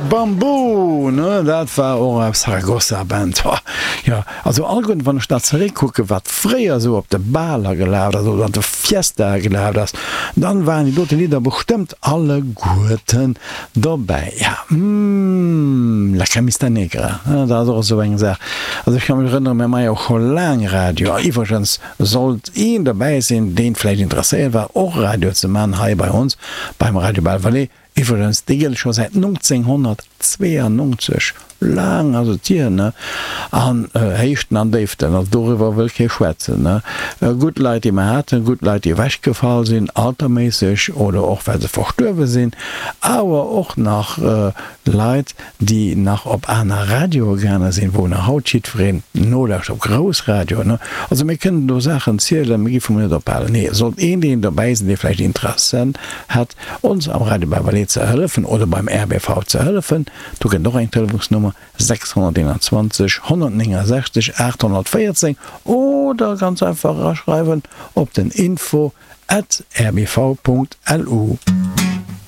Bamboo, ne, dat war och eng Saragossa Band. Ho, jo, also alleguerten, wann ech dat zeréckkucken, wat fréier esou op de Baler gelaf ass oder an de Fiestae gelaf ass, dann waren déi dote Lidder bestëmmt alleguerten dobäi. Ja, mm, La Camista Negra, ne, dat ass och esou eng Saach. Also ech ka mech erënneren, mir maache jo och scho laang Radio. A iwwregens sollt een dobäi sinn, deen vläicht interesséiert war, och Radio ze maachen hei bei ons beim Radio Belval, Iwwregens, dee gëtt et scho säit 1992, laang ass et hier, ne? An Héichten an Déiften, also doriwwer wëll kee schwätzen, ne? Gutt Leit, déi mer haten, gutt Leit, déi ewechgefall sinn, alterméisseg oder och well se verstuerwe sinn, awer och nach Leit, déi nach op aner Radioe gaange sinn, wou nach haut jiddwereen nolauscht, op grouss Radioen, ne? Also mir kënnen do Saachen zielen, mir géife mol net ophalen. Nee, sollt een deen dobäi sinn, dee vläicht Interessen hätt, ons am Radio Beverley ze hëllefen oder beim RBV ze hëllefen, do gëtt et och eng Telefonsnummer, 621 169 814, oder ganz einfach eraschreiwen op den info at rbv.lu.